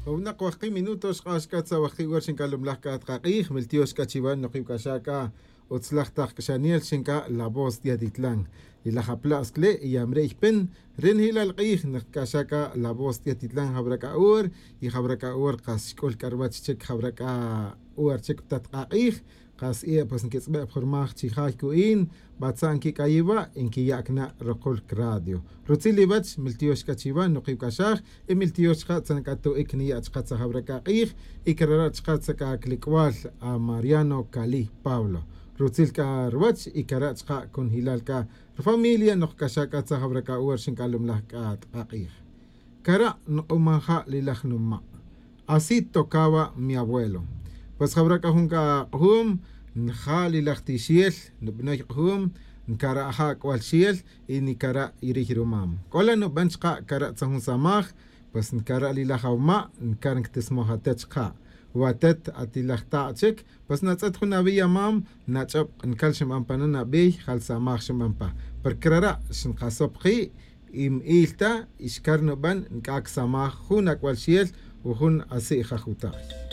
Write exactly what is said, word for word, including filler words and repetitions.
Jun winak wajki' minuto xk'ax c'a tzawajki' hora xinc'alumlaj c'a takak'ij miltiox c'a chiwan nukiw c'a xa c'a utzlaj tak c'axanel xinc'a la voz de atitlan. Y laj apla'scle' y yamre' ypin ri nijilal k'ij nikc'axa c'a la voz de atitlan jawra c'a hora y jawra c'a hora kas xc'ul c'a ruwach chic jawra c'a hora chic pa tatakak'ij. Kas e' pues nquitz'be' pa jurmaj chi jay cu'in batza' nquic'ayiwa' y nquiya' cana' rukul cradio. Rutzil iwech miltiox c'a chiwa nukiw c'a xaj y miltiox chka' tzan c'a tu'ic niya' chka' tzajawra c'a k'ij. Y carara' chka' tza c'a clic'wal a mariano cali pablo rutzil c'a ruwech y cara' chka' cunjilal c'a rufamilia nokc'axa c'a tzajawra c'a hora xinc'alumlaj c'a tak'ak'ij. Cara' nuk'uman ja' lilaj numa'. Así tocaba mi abuelo. Pues jawra c'a jun c'a k'ujum nja' lilaj tixel nubanoy k'ujum, ncara' ja' c'ual xel y nicara' iriy rumam c'o la nuban chka' cara' tzan jun samaj. Pues ncara' lilaj awuma' ncar ncatismoj atet chka'. Watet atilaj ta' chic pues natz'et jun awi' amam nach'ob ncal xinban pa na nabiy jal samaj xinban pa. Porque rara' xinkasop ki' y mi'il ta y xcar nuban nc'ac samaj jun ac'ual xel o jun asi' jajuta'y.